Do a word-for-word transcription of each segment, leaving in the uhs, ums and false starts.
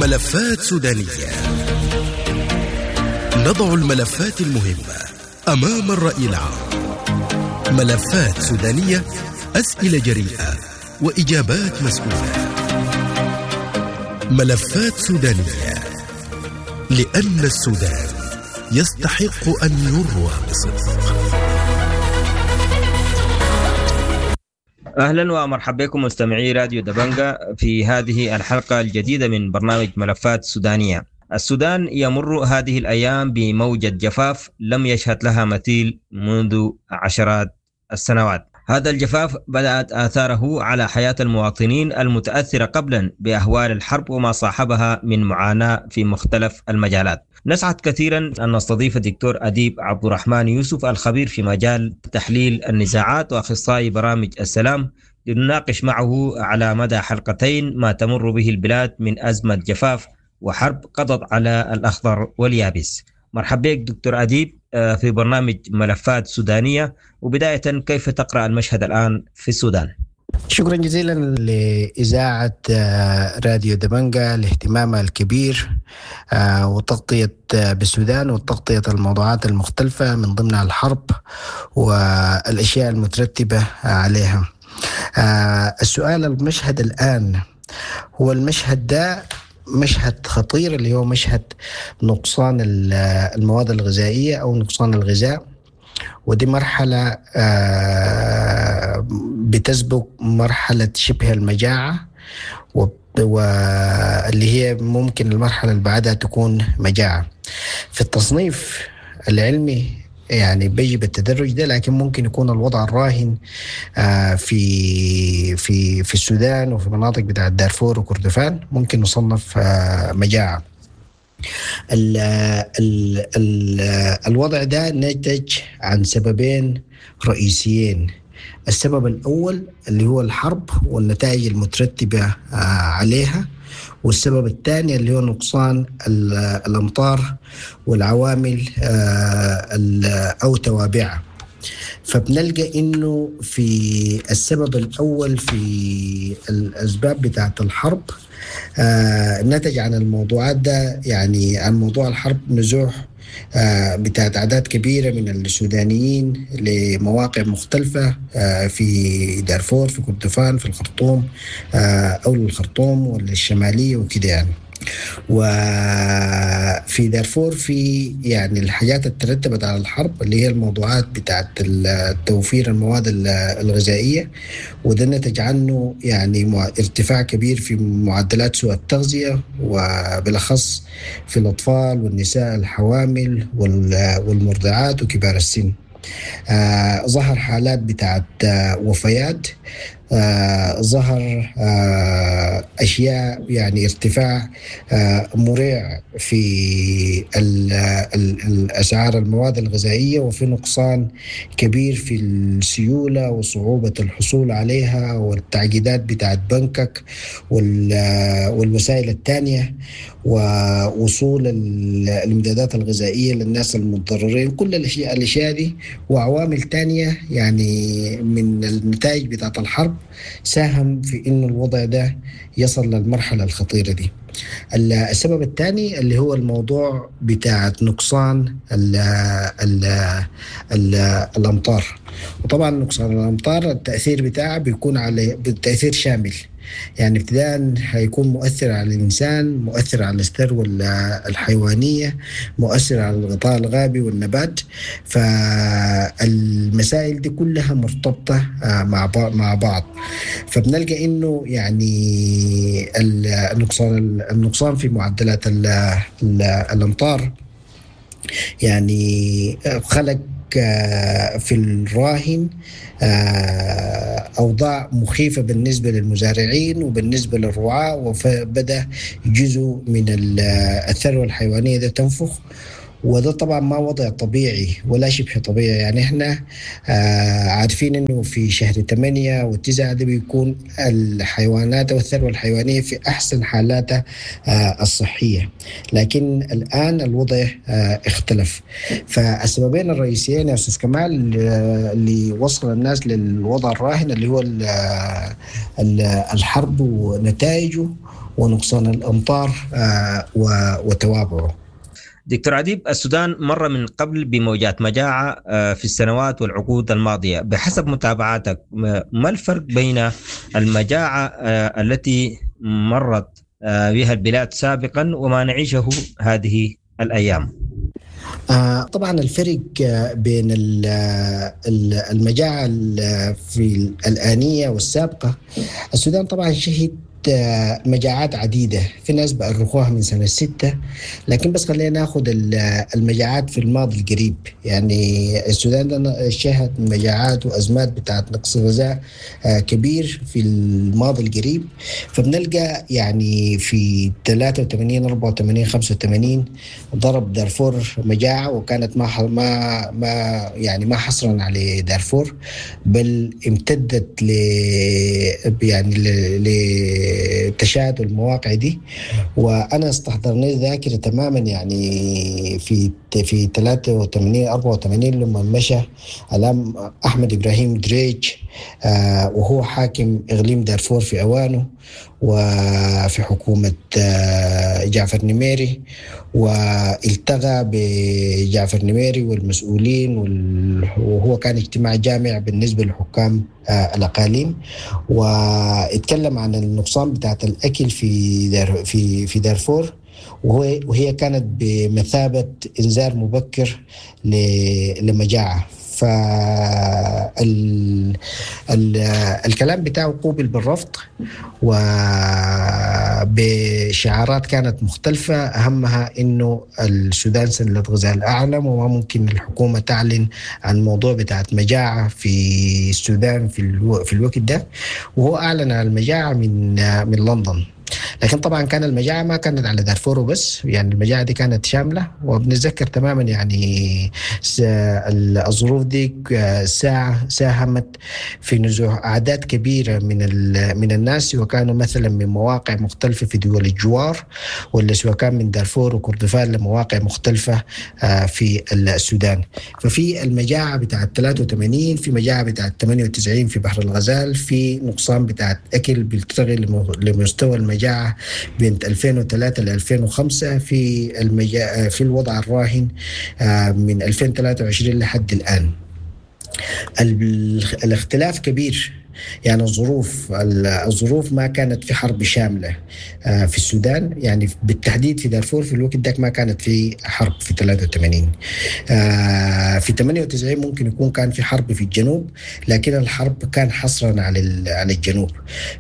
ملفات سودانية. نضع الملفات المهمة أمام الرأي العام. ملفات سودانية، أسئلة جريئة وإجابات مسؤولة. ملفات سودانية، لأن السودان يستحق أن يروى بصدق. أهلا ومرحبا بكم مستمعي راديو دبنجا في هذه الحلقة الجديدة من برنامج ملفات سودانية. السودان يمر هذه الأيام بموجة جفاف لم يشهد لها مثيل منذ عشرات السنوات. هذا الجفاف بدأت آثاره على حياة المواطنين المتأثرة قبلا بأهوال الحرب وما صاحبها من معاناة في مختلف المجالات. نسعد كثيرا أن نستضيف الدكتور أديب عبد الرحمن يوسف، الخبير في مجال تحليل النزاعات وأخصائي برامج السلام، لنناقش معه على مدى حلقتين ما تمر به البلاد من أزمة جفاف وحرب قضت على الأخضر واليابس. مرحبا بك دكتور أديب في برنامج ملفات سودانية، وبداية كيف تقرأ المشهد الآن في السودان؟ شكرا جزيلا لإذاعة راديو دبنجا لاهتمامها الكبير وتغطية بالسودان وتغطية الموضوعات المختلفة من ضمنها الحرب والأشياء المترتبة عليها. السؤال، المشهد الآن هو المشهد ده مشهد خطير، اللي هو مشهد نقصان المواد الغذائية أو نقصان الغذاء، ودي مرحلة بتسبق مرحلة شبه المجاعة، واللي هي ممكن المرحلة اللي بعدها تكون مجاعة. في التصنيف العلمي يعني بيجي بالتدرج ده، لكن ممكن يكون الوضع الراهن في في في السودان وفي مناطق بتاعة دارفور وكردفان ممكن نصنف مجاعة. ال ال ال الوضع ده نتج عن سببين رئيسيين. السبب الأول اللي هو الحرب والنتائج المترتبة عليها، والسبب الثاني اللي هو نقصان الأمطار والعوامل أو توابعها. فبنلقى إنه في السبب الأول في الأسباب بتاعة الحرب نتج عن الموضوعات ده، يعني عن موضوع الحرب نزوح بتاعت أعداد كبيرة من السودانيين لمواقع مختلفة في دارفور، في كردفان، في الخرطوم أو الخرطوم والشمالية وكده يعني. وفي دارفور في يعني الحاجات اللي ترتبت على الحرب اللي هي الموضوعات بتاعت توفير المواد الغذائية، وده نتج عنه يعني ارتفاع كبير في معدلات سوء التغذية، وبالأخص في الأطفال والنساء الحوامل والمرضعات وكبار السن. آه ظهر حالات بتاعت آه وفيات، آه ظهر آه أشياء يعني ارتفاع آه مريع في الأسعار المواد الغذائية، وفي نقصان كبير في السيولة وصعوبة الحصول عليها والتعقيدات بتاعت بنكك والوسائل الثانية، ووصول الامدادات الغذائية للناس المتضررين. كل الأشياء الأشياء دي وعوامل تانية يعني من النتائج بتاعت الحرب ساهم في إنه الوضع ده يصل للمرحلة الخطيرة دي. السبب الثاني اللي هو الموضوع بتاع نقصان ال ال ال الأمطار، وطبعا نقصان الأمطار التأثير بتاعه بيكون على بالتأثير شامل، يعني ابتداء هيكون مؤثر على الإنسان، مؤثر على الثروة الحيوانية، مؤثر على الغطاء الغابي والنبات. فالمسائل دي كلها مرتبطة مع مع بعض. فبنلقى إنه يعني النقصان النقصان في معدلات الأمطار يعني خلق في الراهن أوضاع مخيفة بالنسبة للمزارعين وبالنسبة للرعاة، وبدأ جزء من الثروة الحيوانية ده تنفخ، وده طبعا ما وضع طبيعي ولا شبه طبيعي. يعني احنا آه عارفين انه في شهر ثمانية وتسعة ده بيكون الحيوانات والثروة الحيوانية في احسن حالاتها آه الصحية، لكن الان الوضع آه اختلف. فالسببين الرئيسيين يا استاذ كمال اللي وصل الناس للوضع الراهن اللي هو ال ال الحرب ونتائجه، ونقصان الأمطار وتوابعه. دكتور أديب، السودان مر من قبل بموجات مجاعة في السنوات والعقود الماضية، بحسب متابعاتك ما الفرق بين المجاعة التي مرت بها البلاد سابقا وما نعيشه هذه الأيام؟ آه طبعا الفرق بين المجاعة في الآنية والسابقة، السودان طبعا شهد مجاعات عديدة، في ناس بأرخوها من سنة ستة، لكن بس خلينا ناخذ المجاعات في الماضي القريب. يعني السودان شهد مجاعات وأزمات بتاعت نقص غذاء كبير في الماضي القريب، فبنلقى يعني في ثلاثة وثمانين أربعة وثمانين خمسة وثمانين ضرب دارفور مجاعة، وكانت ما ما ما يعني ما حصرا على دارفور، بل امتدت ل يعني ل تشاد المواقع دي. وانا استحضرني ذاكره تماما يعني في في ثلاثة وثمانين أربعة وثمانين لما مشى الام احمد ابراهيم دريج آه وهو حاكم اقليم دارفور في اوانه وفي حكومه آه جعفر نميري، والتقى بجعفر نميري والمسؤولين، وهو كان اجتماع جامع بالنسبه لحكام آه الاقاليم، واتكلم عن النقصان بتاعت الاكل في دار في في دارفور، وهو وهي كانت بمثابه انذار مبكر لمجاعه. فالكلام بتاعه قوبل بالرفض وبشعارات كانت مختلفة، أهمها إنه السودان سلة غذاء الأعلم، وما ممكن الحكومة تعلن عن موضوع بتاعت مجاعة في السودان في, الو في الوقت ده، وهو أعلن عن المجاعة من من لندن. لكن طبعا كان المجاعة ما كانت على دارفور وبس، يعني المجاعة دي كانت شاملة، وبنتذكر تماما يعني الظروف دي ساعة ساهمت في نزوح أعداد كبيرة من من الناس، وكانوا مثلا من مواقع مختلفة في دول الجوار، ولا سواء كان من دارفور وكردفان لمواقع مختلفة في السودان. ففي المجاعة بتاعت ثلاثة وثمانين، في مجاعة بتاعت ثمانية وتسعين في بحر الغزال، في نقصان بتاعت أكل بيلتغي لمستوى المجاعة بين ألفين وثلاثة ل ألفين وخمسة، في المجا... في الوضع الراهن من ألفين وثلاثة وعشرين لحد الآن. الاختلاف كبير، يعني الظروف الظروف ما كانت في حرب شاملة في السودان، يعني بالتحديد في دارفور في الوقت ده ما كانت في حرب في ثلاثة وثمانين. في ثمانية وتسعين ممكن يكون كان في حرب في الجنوب، لكن الحرب كان حصرا على على الجنوب.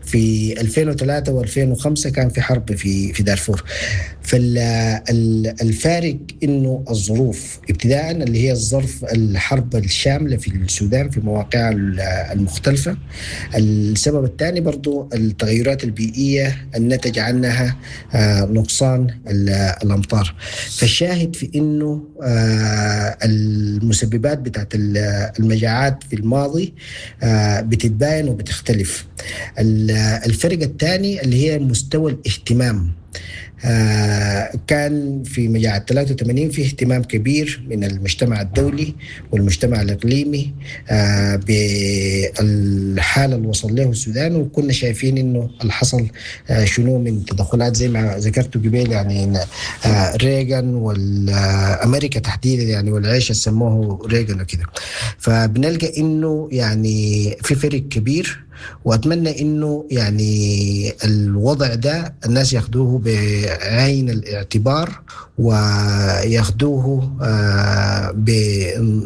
في ألفين وثلاثة وألفين وخمسة كان في حرب في في دارفور. فالفارق انه الظروف ابتداء اللي هي الظرف الحرب الشاملة في السودان في مواقعها المختلفة. السبب الثاني برضو التغيرات البيئية النتج عنها نقصان الأمطار. فالشاهد في أنه المسببات بتاعت المجاعات في الماضي بتتباين وبتختلف. الفرق الثاني اللي هي مستوى الاهتمام، كان في مجاعة ثلاثة وثمانين في اهتمام كبير من المجتمع الدولي والمجتمع الإقليمي بالحالة اللي وصل له السودان، وكنا شايفين إنه اللي حصل شنو من تدخلات زي ما ذكرت قبل، يعني ريغان والأمريكا تحديدا، يعني والعيش اللي سموه ريغان وكده. فبنلقى إنه يعني في فرق كبير، وأتمنى إنه يعني الوضع ده الناس ياخدوه بعين الاعتبار وياخدوه ب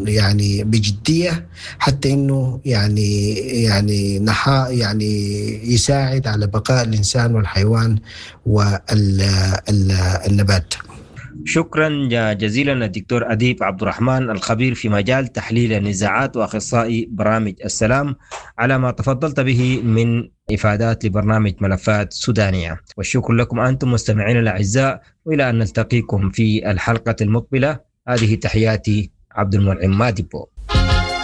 يعني بجدية، حتى إنه يعني يعني نحا يعني يساعد على بقاء الإنسان والحيوان والنبات. شكرا جزيلا الدكتور أديب عبد الرحمن الخبير في مجال تحليل النزاعات وأخصائي برامج السلام على ما تفضلت به من إفادات لبرنامج ملفات سودانية، والشكر لكم أنتم مستمعين الأعزاء، وإلى أن نلتقيكم في الحلقة المقبلة. هذه تحياتي، عبد المنعم مادبو.